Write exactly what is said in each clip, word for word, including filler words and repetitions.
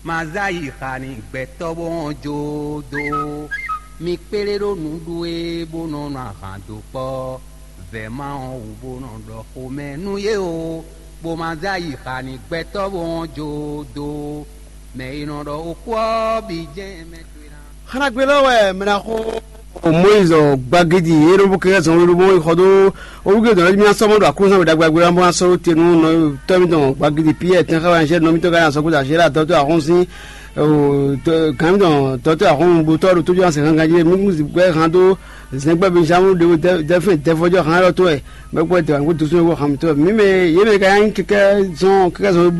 Ma zá yi xa n'i gbɛtɔ́ bó hɔn jó dó. Mi kplé ɖó nǔɖuɖu e bó nɔ nɔ ahan dó kpɔ́ vɛ̌ma ɔ́ wú bó nɔ ɖɔ xomɛ nú yě o, bó ma zá yi xa n'i gbɛtɔ́ bó hɔn jó dó. Mɛ e nɔ ɖɔ xó ɔ́ bǐ jɛ́n mɛ towe ná. Xanagbe lɔ wɛ mɛ ná xo Moyiz gbagidi e ɖo bó kɛkɛ zɔn ɖo bó xɔ dó owúgbe dɔn mí asɔmɔ ɖo aklúzán wɛ ɖagbe ɔ́ bó ná sɔ́ te nú nɔtɔ́ mítɔn gbagidi Piyɛ́ɛ tɛn xá wɛ anjɛ nɔ mítɔn gán asɔkúta Zéla dɔtɔ́ ahɔ́nsín gǎn mítɔn dɔtɔ́ ahɔ́nbutɔ́ ɖo tójú asɛn gangan jí mí kún gbɛ hán dó zɛngbɛ Benjamin ɖe dɛfɛn dɛfɔjɔ hán lɔ tó wɛ mɛ gbɔ dɛ wɛ kó dusún wɛ hán mítɔn mí mɛ yě mɛ ka nyí kɛkɛ zɔn kɛkɛ zɔn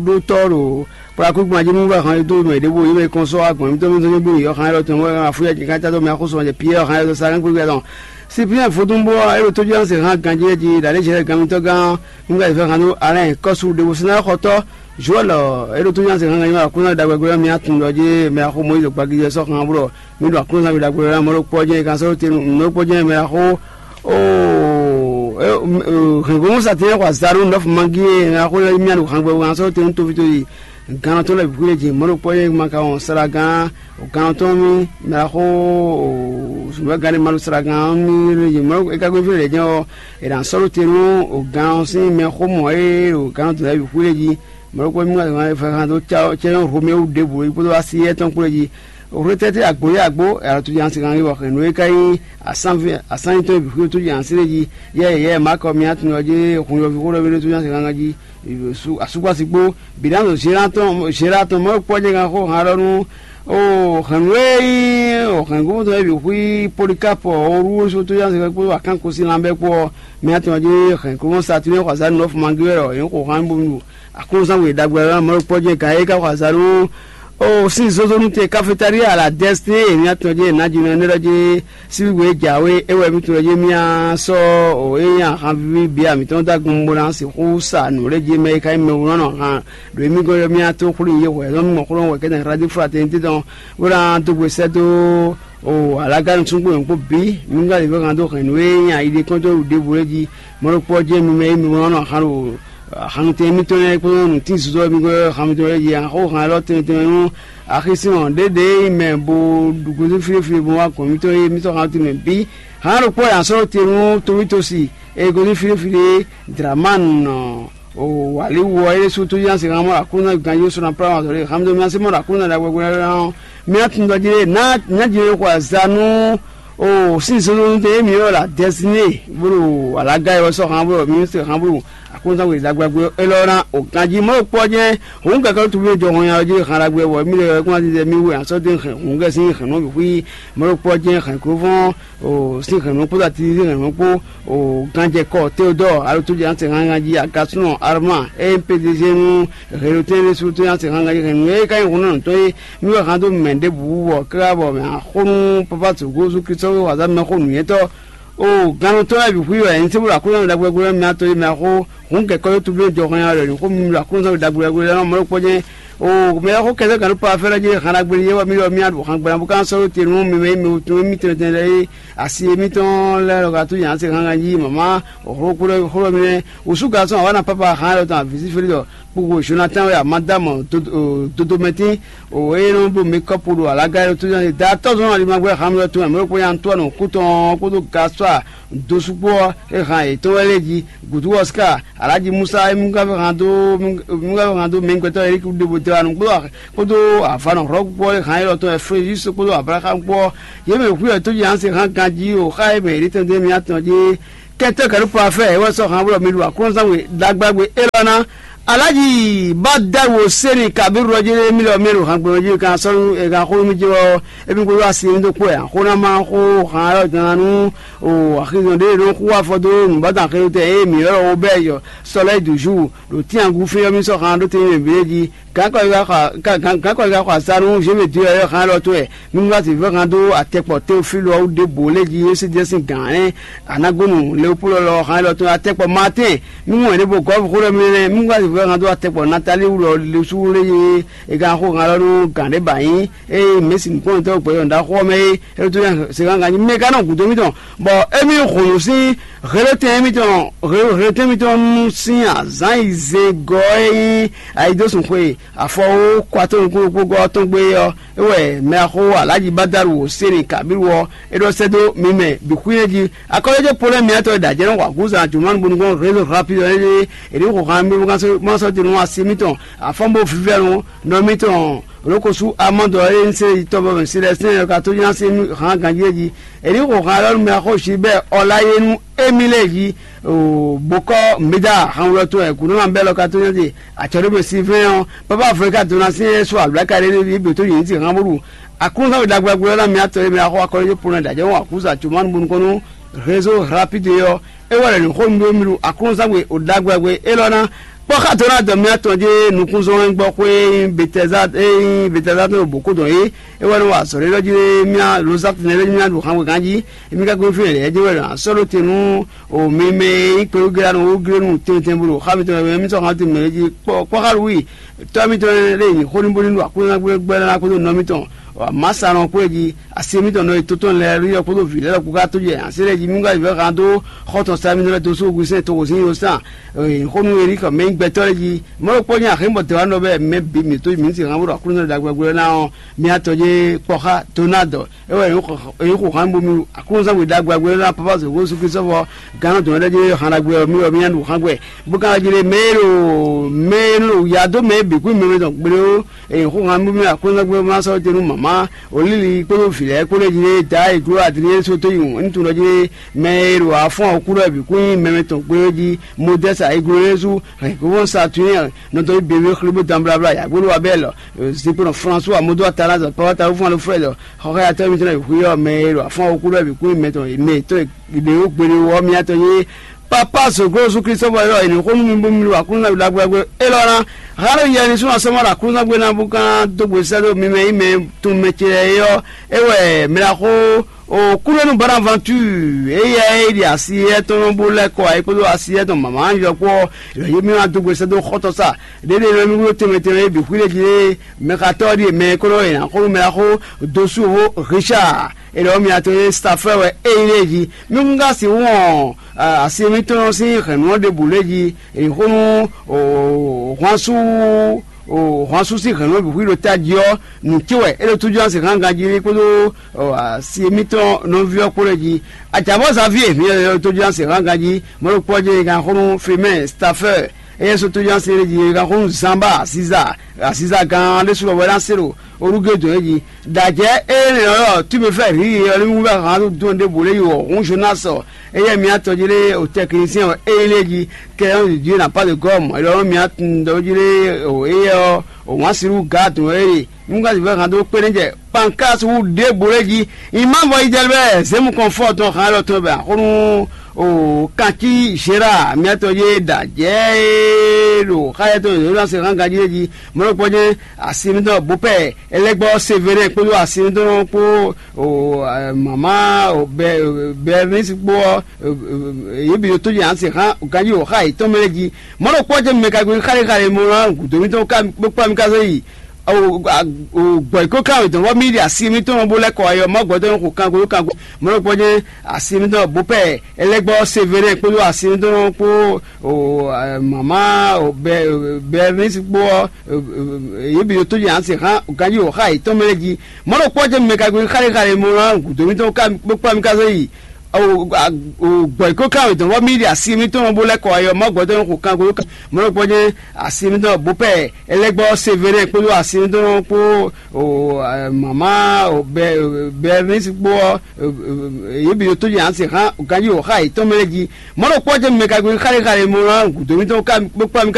ɖó tɔ́ ɖo Kplɔ́ akúgbɔn jí nú wɛ hɔn e dó mɛ ɖěvo yě mɛ kɔn sɔ́ agbɔ̌n mítɔ́ mítɔ́ nyí bó nyǐ ɔ́ hán élɔ́ tɔn wɛ afúyɛ jí ká cá dó mɛ axóso ɔ́ jɛ Piyɛ́ɛ ɔ́ hán élɔ́ sa hán gbégbé tɔn. Sipiɛn vodúnbó ɔ́ é ɖo tójúlánsɛ hán ganjí jí ɖǎ lé jɛ gǎn mítɔ́ gán ɔ́, un ka fɛ hán dó Alɛ́n kɔ́su ɖěvo sɛ́n xɔtɔ́ Jowɛ́l ɔ́ é ɖo tójúlánsɛ hán ganjí mɛ aklúnɔ ɖagbe ɔ́ mì atun ɖɔ jí mɛ axó Mɔyízi gbagíjɛ sɔ́ hán blɔ mì ɖo aklúnɔzángbe ɖagbe ɔ́ mɛ ɖokpó ɔ́ jɛ́n kan sɔ́ ɖó te nú mɛ ɖokpó jɛ́n mɛ axó. Oo, hɛ̌ngbɔ́mɔ satɛn xɔ azǎn nú nɔ́fu mangí e axó lɛ́ɛ mì ɖo hán gbɛ kan sɔ́ ɖó te nú tófító yi. Gannɔtɔn lɛ́ɛ bǐ xwílé jǐ mɔ̌ ɖokpó nyí ma ka wɔn sala gán gannɔtɔn mì mɛ axó zunbɛ́ gán ɖé ma ɖo sala gán mì jǐ mɔ̌ ɖokpó é ka gbé fí lɛ̌ jɛ́n ɔ́, è nǎ sɔ́ ɖó te nú gán ɔ́ sín mɛ xó mɔ̌ e ɖo gannɔtɔn lɛ́ɛ bǐ xwílé jí mɔ̌ ɖokpó mì ma fɛ́ xan dó cɛ́nyɔ́ Romɛwu ɖěbǔ é kpódó así étɔn kplé jí. Hwetɛ́tɛ́ àgbǒ yá àgbó è nǎ tɔ́ jí ansín gán wɔ hɛ̌nnu e ka nyí asán tɔn e bǐ xwílé tó jí ansín lé jí. Yɛ yɛ Maakɔ mì atun ɔ́ jí hun yɔví xó ɖɔ mì ɖó tó jí ansín gán jí. Asúkpási kpó bǐ ná nɔ Zela tɔn Zela tɔn mɔ̌ kpɔ́ jɛ gan xó han ɖɔ nú o hɛ̌nnu e nyí hɛ̌ngbɔ́mɔtɔn e bǐ xwí Polikapɔ Oluwósu tó yá sɛkpɛ́ kpódó akánko sín lanbɛ́ kpó ɔ́, mɛ atɔn jí hɛ̌ngbɔ́mɔ Satilɛ́n xɔ azǎn nɔ́ fun magí wɛ ɖɔ yě xo han bó nu aklúnɔzán we ɖagbe ɔ́ mɔ̌ kpɔ́ jɛ gǎn é ka xɔ azǎn nú o sín zozónú te kafetália la dɛ́síté e mɛ atɔn jí è nǎ jí nɔ énɛ́ ɖɔ jí síbígbe e jǎwe é wɛ mí tunwun jí mía sɔ́ o é nyí ahan víví bǐ amǐtɔn dó agun bó ná sixú sa nǔ lɛ́ɛ jí mɛ e ka nyí mɛwúnɔ́nɔ han ɖo émí gɔ́n ɔ́ mía tó xwlí yě hwɛ̌ nɔ́ mɔ xlɔ́ wɛ kɛ́tɛn Hladi Flatɛni tɛ́ tɔn bó ná dó gbe sɛ́ dó o alágánú súngbó nyɔ̌kpó bǐ mí ká lě vɛ́ han dó hɛn nǔ e nyí ayi ɖé kɔ́n dó ɖěvo lɛ́ɛ jí. Mɔ̌ ɖokpó ɔ́ jɛ́n mi mɛ e mi wlán nɔ han ɖo hannutɛn mitɔn lɛ́ɛ kpódó nǔtín zuzɔ́ mi gbé hannutɛn lɛ́ɛ jí han xó han élɔ́ tɛnmɛ tɛnmɛ nú axisínɔ ɖěɖě e mɛ bo ɖu gosín fíɖéfíɖé bo wá gɔ̌n mitɔn e mitɔn hannutɛn mɛ bǐ. Han ɖokpó e a sɔ́ te nú Towítosi e gosín fíɖéfíɖé Dlamanu nɔ o wǎlíwú ɔ́ é ɖésú tó yán se han mɔ Aklúnɔ ganjí sɔ́ ná plá wan zɔ̌ lé han mi dó mi así mɔ Aklúnɔ ɖagbe ɔ́ mì atundɔ jí lé ná ná jí lé xɔ azǎn nú o sín zɔnzɔn tɛ émi ɔ́ la dɛsiné bolo alaga yɔ sɔ han bolo mi se han bolo Aklúnɔ we ɖagbe ɔ́ élɔ́ ná o ganjí mɔ kpɔ jɛ òun kɛkɛ tó bí jɔ hɔn ya jí han ɖagbe wɔ mi lɛ kún ati mi wɛ asɔ dé hɛn òun kɛ sín hɛn nɔ bi xwí mɔ kpɔ jɛ hɛn kó fɔn o sín hɛn nɔ kpó ati sín hɛn nɔ kpó o ganjɛ kɔ Théodore alo tó jɛ an se han jí agasúnɔ Armand e P D G nú Hɛnnu tɛ́nɖé sú tó nyá se hángan yi hɛnnu e ka nyí hun nɔ tɔn e mì wɛ hán dó mɛ ɖěbǔ wú bɔ káká bɔ mɛ axó nú pápá tǒgó sú Klísu wazá mɛ xó nǔnywɛ́tɔ́. O gannú tɔn wɛ bǐ xwí wɛ nyí sébúlú Aklúnɔ ɖagbe ɖagbe mɛ atɔn e mɛ axó hun kɛkɔ́ yó tubí jɔ hɔn ya wɛ ní xó mì Aklúnɔ ɖagbe ɖagbe lɛ́ɛ mɔ ɖokpó jɛ́n. O mɛ xó kɛsɛ gannú pa fɛ́lɛ jɛ hán ɖagbe yɛ wɛ mì wɛ mì aɖu hán gbɛ́ná bó ká sɔ́ te nú mɛ mɛ mɛ wutun émí tɛnmɛ tɛnmɛ lɛ́ɛ é asi émítɔn lɛ́ɛ lɔ ka tó nyǎ se hángan jí mama xó xó xó mì nɛ́. Wǔsú gasɔn awǎ na pápá hán lɔ tɔn avǐ sí félí ɖɔ kpokpo Jonathan wɛ amadamɔ dodomɛtín o eye nɔ ɖo mekɔpu ɖo alaga yɛ tó da tɔ́zɔn alimagbe hamlɔ tɔn mɛ kpo ya Antoine kútɔn kpódó gasɔa dosukpɔ e hàn yětɔn wɛ lé jí gudu Oscar Alhaji Musa e mungave hàn dó mungave hàn dó mɛgbɛtɔ Eric ɖebo de wa nukpó kpódó avanɔ hlɔ̌kpɔ e hàn yɛ lɔ tɔn Efreyis kpódó Abraham kpó yě mɛ hu yɛ tó jí hàn se hàn ganjí o xa e mɛ yě tɛn dé mi atɔn jí kɛtɛ kɛɖu pa fɛ ewɔ sɔ hàn wulɔ mi lu akɔnzan we dagba gbe elɔ na alaji ba da wo seni kabiru lɔ jɛ mi lɔ mi lu hàn gbɔn jɛ kan sɔnu e kan xo mi jɛ wɔ emi ko yɔ asi mi do kpɔ ya xo na ma xo hàn yɔ dan nu o axizɔn de no xo afɔ do nu ba dan xeyo tɛ e mi yɔ wo bɛ yɔ sɔlɛ du jour ɖo tiangu fiyɔ mi sɔ hàn ɖo te mi bi ji gankɔ yi ka gankɔ yi ka xɔ azanu jɛ mi di yɔ hàn lɔ to ɛ Mímúlátì vɛ́ han dó atɛkpɔ Teofílu ɔ́ wú ɖěbǔ lé jí é sí jɛ sín gǎn ɛnɛ anagonu Leopolɔ lɔ han élɔ́ tɔn atɛkpɔ Maatɛ́n. Mímú ɛnɛ bó gɔ́ xó ɖɔ mɛ nɛ́ mímúlátì Wɛ hɛn dó atɛkpɔ Natali wú lɔ le sú lé yé. E gán xó hɛn lɔ nú gǎn ɖé ba nyí eye mɛ̌si nǔkplɔ́nmɛtɔ́ gbɛ̌yɔ́ ɖaxó ɔ́ mɛ é. É ɖó tó nyí se gán gán nyí mɛ gán nɔ gǔdo mítɔn. Bɔ émí hǔn nú sín hletɛ́n mítɔn hletɛ́n mítɔn nú sín azǎn yi zé gɔ́ é nyí ayidósun xwe afɔ ó kɔ atɔ́ nukúnnú kpó gɔ́ ɔ́ tɔn gbé ɔ́. É wɛ mɛ axó alájí bádaru wǒ séni kabíru ɔ́ é ɖɔ sɛ́ dó mi mɛ bǐ xwílɛ́ jí. Akɔ́lɔ́jɛ́ Polɛ́ mǐtɔn e ɖo ajɛ̌ nɔ wa gǔzan Jomanu bónú gbɔn rézo rapide ɔ́ é ɖíe è nǐ xo han mì bó ká sɔ́ te nú asi mítɔn afɔ́nbó vívɛ́nu nɔ mítɔn lǒkosú amɔ́dɔ e un se yi tɔn bɔ mɛ si lɛ́ɛ sɛ́n ɔ́ ka tó nya sín hǎn ganjí é jí. È nǐ xo han élɔ́ nú mɛ xó Gilbɛ́ɛ Ɔlayénu émí lɛ́ɛ jí. Bokɔ́ Meda hanwlɔ tɔn wɛ gǔnɔ́mabɛ́ lɔ ka tó nya ɖe acɔ̌ɖómɛ Silvɛ́n ɔ́, Papa Afrika dó ná sín é sú alǔláka ɖé ɖé bǐ tó yě ní sin han bó ɖu Aklúnɔzán we ɖagbe ɔ́ ná mǐ atɔn e mǐ wá xɔ akɔ́lɔ́jɛ́ Polɔ́n ɖo ajɔ̌ ɔ́ Akuza Jomanu bónú kɔn nú Rézo Rapide ɔ́, é wɛ ɖɔ nǔ xó nú mì ɖo Aklúnɔzán we ɖagbe ɔ́ gbe élɔ́ ná kpɔ́ xá dó ná dɔ mǐ atɔn jé nukúnzɔ́n e gbɔ xwé e nyí Betɛza e nyí Betɛza tɔn ɖo bǒ kó dɔn é. É wɛ nɔ wa azɔ̌ ɖé ɖɔ jí ɖé mía Lozatɛn lɛ́ɛ mía ɖo xan wegán jí, émí ka kpé fínɛ́ lɛ́ɛ jɛ́n wɛ ɖo asɔ́ ɖó te nú o mi mɛ e nyí kpɛɖógléanu wúglénu tɛntɛn bó ɖo xá mitɔn mɛ mí sɔ́ xá mitɔn mɛ jí kpɔ́ kpɔ́ xá Lúwi tɔ́ mitɔn lɛ́ɛ ɖe nyi xó ní bó ní ɖo Aklúnɔzán gbɛ́ ná kpódó nɔ mitɔn Masanɔ kpó e jí asi mitɔn nɔ yi tótɔn lɛ́ɛ rí ɔ́ kpódó vǐ lɛ́ɛ lɔ kpó ká tó jɛ asi lɛ́ɛ jí mí wá yi vɛ́ han dó xɔ́ tɔn sa mitɔn lɛ́ɛ dó sú ogun sɛn toxo sín yó sán xó nú Elíka mɛ nyí gbɛtɔ́ lɛ́ɛ jí mɔ̌ ɖokpó nyí axǐ bɔ dɛ̌ wá nɔ bɛ́ mɛ bǐ mǐtó mǐ sin han bó ɖo Aklúnɔzán ɖagbe gbɛ́ ná ɔ́ mía tɔn jé kpɔ́ xá Donáadɔ. É wɛ è nyǐ xo hǎn bó mì Aklúnɔzán we ɖagbe agbé ná Papa Zǒgbó Jezu Klísu sɔ́ vɔ gǎn dɔ̌n lɛ́ɛ jlé hǎn ɖagbe ɔ́ mì wɛ mì nya ɖu hǎn gbɛ. Bó ka ná jlé mɛ e ɖo mɛ e nɔ ya dó mɛ e bǐ kún mɛ mɛ tɔn gblé ó. È nyǐ xo hǎn bó mì Aklúnɔzán gbé ná sɔ́ te nú mama Olíli kpódó vǐ lɛ́ɛ kpó lɛ́ɛ jlé Daá e gló Adriɛ́n sóto yi wǔn. Ní tunwun ɖɔ jlé mɛ e ɖo afɔ́n ɔ́ kú lɛ́ɛ bǐ kún nyí mɛ mɛ tɔn gblé ó jí. Modɛ́sa e gló Yézu hɛn gǒvɔn Saturníɛn nɔ dɔn yi běbé xlé bó dan blabla yǎgbó ɖó Abɛ́lɔ. Zinkpo nɔ Flɔnsúwa modó Atalázɔ Pawata wúfún Alfrɛ́dɔ xɔxɔ́yatɔ́ mitɔn e hwí ɔ́ mɛ e ɖo afɔ́n ɔ́ kú ɖɔ bǐ kún mɛ tɔn mɛ tɔn ɖě wú gbeɖé wú ɔ́ mia tɔn yé. Papa zǒgló Jezu Klísu bɔ é ɖɔ è nǐ xó nú mi bónú mi ɖo Aklúnɔzán wi ɖagbe élɔ́ ná. Hǎn ɖo yɛ ní súnnu asɔ́ ma ɖo Aklúnɔzán gbe ná bó ká dó gbe sɛ́ dó mi mɛ nyí mɛ tun mɛ ce lɛ́ɛ é ɔ́, é wɛ mɛ ɖaxó Kúɖénu Bonaventure éyɛ́ e ɖi asi éyɛ́ tɔn bó lɛ́ kɔ ayǐ kpódó asi éyɛ́ tɔn mǎmá yɔkpɔ́ yě mì wá dó gbe sɛ́ dó xɔ́tɔ́ sa ɖěɖé nɔ mì wló tɛnmɛ tɛnmɛ é bǐ xwíɖé jí lé. Mɛxatɔ́ ɔ́ ɖíe mɛ e kó nɔ nyi axɔ́ nú mɛ ɖaxó dó sú hó Richard è ɖɔ mì atɔn e Safɛ́ wɛ é nyí lé jí. Mì kún ka sixú wɔn asi mǐtɔn sín hɛ̌nnu ɔ́ ɖěbǔ lé jí è xó nú hwansú hwansú sín hɛ̌nnu ɔ́ bǐ xwí ɖo tají ɔ́ nǔ ce wɛ é ɖo tújú asi hán ganjí kpódó asi mǐtɔn nɔví ɔ́ kpó lɛ́ɛ jí. Acǎbɔ́ Xavier hǐn tójúnásì hán ganjí mɔ̌ ɖokpó ɔ́ jɛ ganxónú Fimɛ́ɛ Stafɛ́ɛ éyɛ́ sɔ́ tójúnásì é jí ganxónú Zanba Aziza Aziza gán ɖésú lɔ wɛ ná se ɖo orúgé dɔn é jí. Ɖajɛ énɛ́ ɔ́ tube fɛ hǐ ɔ́ ní wú bɛ hǎn dó dɔn ɖěbǔ lé yi wɔ hún Jonásɔ éyɛ́ mǐ atɔn jí lé o tɛkinisɛn ɔ́ éyí lé jí kɛ ɔ́ jí na pas de gɔ́ mɔ̌ é ɖɔ mǐ atun ɖɔ jí lé o éyɛ́ ɔ́ o wǎn sirú gǎ dɔn é. Nú ka sixú hɛn dó kpé ní jɛ Pankras wú ɖěbǔ lé jí. Ìmá vɔ yi jɛ bɛ zěmu kɔn fɔ tɔn hǎn lɔ tɔn bɛ axɔ́nú o kancí Gérard miatɔn yé ɖa jɛ é ɖo xáyɛ tɔn yě ɖo se hán ganjí lé jí. Mɔ̌ ɖokpó jɛ́n asi mitɔn bopɛ Elɛgbɔ Severɛn kpódó asi mitɔn kpó o mama o Bɛrnisi kpó ɔ́ yě bǐ ɖo tó jɛ asi hán ganjí o xá yětɔn mɛ lé jí. Mɔ̌ ɖokpó jɛ́n mɛ ka gbe xálehále mɔ ná gǔdo mitɔn kpó kpá mi ka zé yi. Gbɔ̌ yi kó ká wětɔn bɔ mí ɖi asi mítɔn bó lɛ́ kɔ ayɔ mɔ gbɔdɔ xo kango kango mɔlɔ gbɔdɔ asi mítɔn bó pɛ Elɛgbɔ Severɛn kpódó asi mítɔn kpó mama Bɛrnisi kpó yě bǐ ɖo tó jɛ asi hán ganjí wǒ xá yětɔn mɛ lɛ́ɛ jí. Mɔlɔ kpɔ́ jɛ mɛ ka gbe xálehále mɔ ná gǔdo mítɔn kpó kpá mi ka zé yi. Gbɔ̌ yi kó ká wětɔn bɔ mí ɖi asi mítɔn bó lɛ́ kɔ ayɔ mɔ gbɔdɔ xo kango mɔlɔ gbɔdɔ asi mítɔn bó pɛ Elɛgbɔ Severɛn kpódó asi mitɔn kpó mama Bɛrnisi kpó yě bǐ ɖo tó jɛ asi hán ganjí wǒ xá yětɔn mɛ lɛ́ɛ jí. Mɔ̌ ɖokpó jɛ mɛ ka gbe xálehále mɔ ná gǔdo mitɔn kpó kpá mi ka